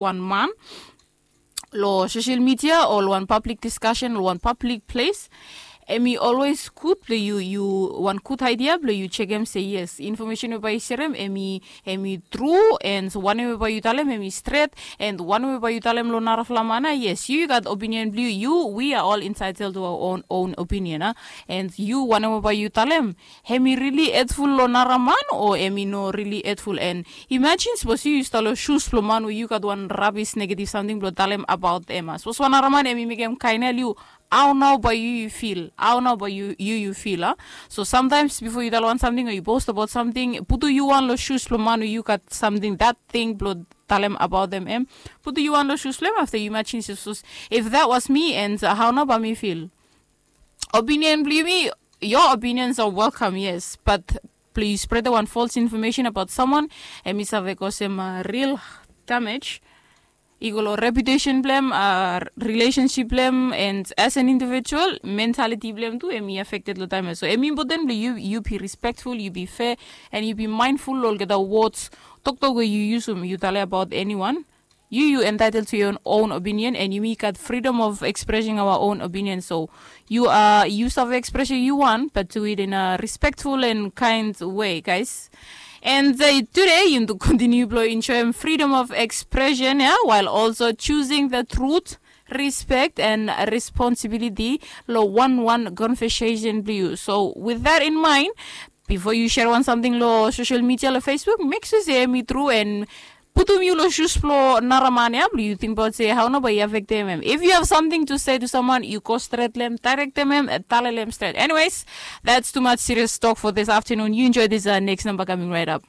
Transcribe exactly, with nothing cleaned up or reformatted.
wan man long sosel midia o long wan pablik diskasen long wan pablik ples, em i olwes gud blong yu yu wan gud aidia blong yu sekem se yes, infomesen we bai yu serem em i em i tru, and wanem we bai yu talem em i stret, and wanem we bai yu talem long narafala man ya, yes, yu yu gat opinion blong yu. Yu we are all entitled to our own own opinion a. And yu wanem we bai yu talem, em i rili hetful long nara man o em i no rili hetful? And imajin sapos yu yu stap long sus blong man we yu gat wan rabis negativ samting blong talem abaot em a, sapos wan nara man em i mekem kaen ya long yu, hao nao bai yu yu fil? Hao nao bai yu yu yu fil a? So samtaims bifo yu talem wan samting o yu post abaot samting, putum yu wan long sus blong man we yu gat samting dat ting blong talem abaot em em, putum yu wan long sus blong em afta yu imajin sapos if that was me, and hao nao bai mi fil? Opinion blong yumi, your opinions are welcome, yes, but blong yu spretem wan false information abaot someone, em i save kosem ril damage i go long reputesen blong em, rilesensip blong em, and as an individual mentaliti blong em tu em i afekted long taem ya. So em i impoten blong yu yu bi respektful, yu bi fea, and yu bi maenful long olgeta wods toktok we yu yusum yu talem abaot eniwan. Yu yu entitled to your own opinion, and yumi gat freedom of expressing our own opinion. So yu a yu save expressing yu wan, but do it in a respectful and kind way, guys. And uh, today yumi tu continue blong enjoyem freedom of expression ya, while also choosing the truth, respect and responsibility long wan wan conversation blong yu. So with that in mind, bifo yu serem wan samting long sosel midia long facebook, mek sua se em i tru and putum yu long sus blong nara man ya blong yu tingbaot se hao nao bai i afektem em. If yu have samting to se to someone, yu go stret long em, daerektem em, talem long em stret. Anyways, that's too much serious talk for this afternoon. Yu enjoy this uh, next number coming right up.